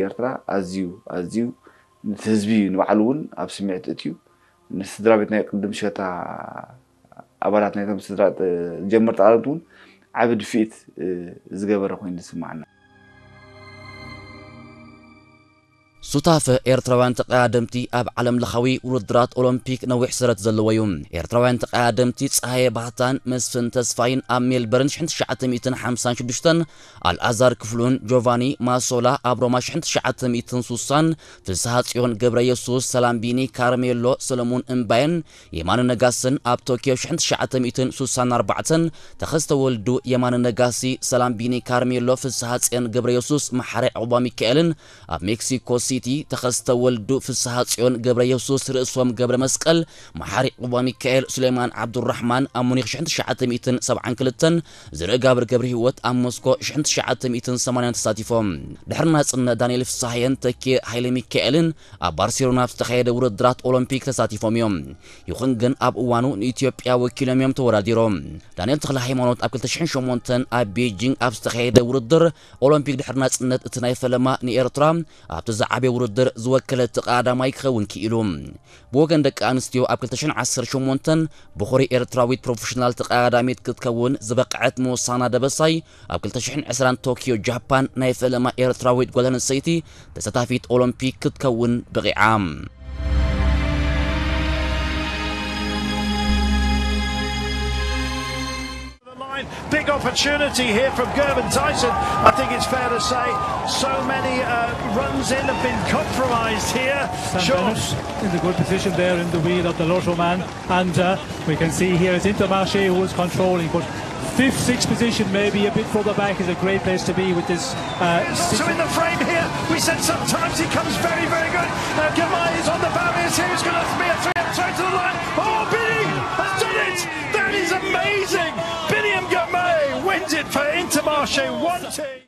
ኤርትራ ኣዝዩ ኣዝዩ ነቲ ህዝቢ ንባዕሉ እውን ኣብ ስምዒት እትዩ፣ ንስድራ ቤት ናይ ቅድም ሸታ ኣባላት ናይቶም ስድራ ጀመርቲ ኣረምቲ እውን ዓቢ ድፍኢት ዝገበረ ኮይኑ ዝስማዓና። ሱታፈ ኤርትራውያን ተቐዳደምቲ ኣብ ዓለም ለኻዊ ውድድራት ኦሎምፒክ ነዊሕ ሰረት ዘለዎ እዩ። ኤርትራውያን ተቐዳደምቲ ፀሃየ ባህታን መስፍን ተስፋይን ኣብ ሜልበርን ሽሕን ትሽዓተ ሚእትን ሓምሳን ሽዱሽተን፣ ኣልኣዛር ክፍሉን ጆቫኒ ማሶላ ኣብ ሮማ ሽሕን ትሽዓተ ሚእትን ሱሳን፣ ፍስሃ ጽዮን ገብረ የሱስ፣ ሰላምቢኒ ካርሜሎ፣ ሰለሙን እምባየን የማነ ነጋስን ኣብ ቶኪዮ ሽሕን ትሽዓተ ሚእትን ሱሳን ኣርባዕተን፣ ተኸስተ ወልዱ፣ የማነ ነጋሲ፣ ሰላምቢኒ ካርሜሎ፣ ፍስሃ ጽዮን ገብረ የሱስ፣ መሓሪ ዕቑባ ሚካኤልን ኣብ ሜክሲኮ ሲቲ፣ ተኸስተ ወልዱ፣ ፍስሃ ጽዮን ገብረ የሱስ፣ ርእሶም ገብረ መስቀል፣ መሓሪ ዕቑባ ሚካኤል፣ ሱሌማን ዓብዱራሕማን ኣብ ሙኒኽ ሽሕን ትሽዓተ ሚእትን ሰብዓን ክልተን፣ ዝርእ ጋብር ገብረ ህይወት ኣብ ሞስኮ ሽሕን ትሽዓተ ሚእትን ሰማንያን ተሳቲፎም። ድሕሪ ናጽነት ዳንኤል ፍስሃየን ተኪ ሃይለ ሚካኤልን ኣብ ባርሴሎና ኣብ ዝተኻየደ ውድድራት ኦሎምፒክ ተሳቲፎም እዮም። ይኹን ግን ኣብ እዋኑ ንኢትዮጵያ ወኪሎም እዮም ተወዳዲሮም። ዳንኤል ተኽለ ሃይማኖት ኣብ ክልተ ሽሕን ሸሞንተን ኣብ ቤጂንግ ኣብ ዝተኻየደ ውድድር ኦሎምፒክ ድሕሪ ናጽነት እቲ ናይ ፈለማ ንኤርትራ ኣብቲ ዝዓበየ ውድድር ዝወከለ እቲ ቀዳማይ ክኸውን ክኢሉ። ብወገን ደቂ ኣንስትዮ ኣብ ክልተ ሽሕን ዓሰርተ ሸሞንተን ብኹሪ ኤርትራዊት ፕሮፌሽናል ተቐዳዳሚት ክትከውን ዝበቕዐት ምውሳና ደበሳይ ኣብ ክልተ ሽሕን ዕስራን ቶኪዮ ጃፓን ናይ ፈለማ ኤርትራዊት ጓል ኣንስተይቲ ተሳታፊት ኦሎምፒክ ክትከውን በቒዓ። The line. Big opportunity here from Gervin Tyson. I think it's fair to say so many uh, runs in have been compromised here. Sam Sure. Bennett in the good position there in the wheel of the Lotto man. And uh, we can see here it's Intermarché who is controlling, but fifth, sixth position, maybe a bit further back, is a great place to be with this. Uh, He's also in the frame here. We said sometimes he comes very, very good. Now Girmay is on the barriers here. It's going to be a three-up throw to the line. Oh, Billy has done it. That is amazing. Billy Girmay wins it for Intermarché one two.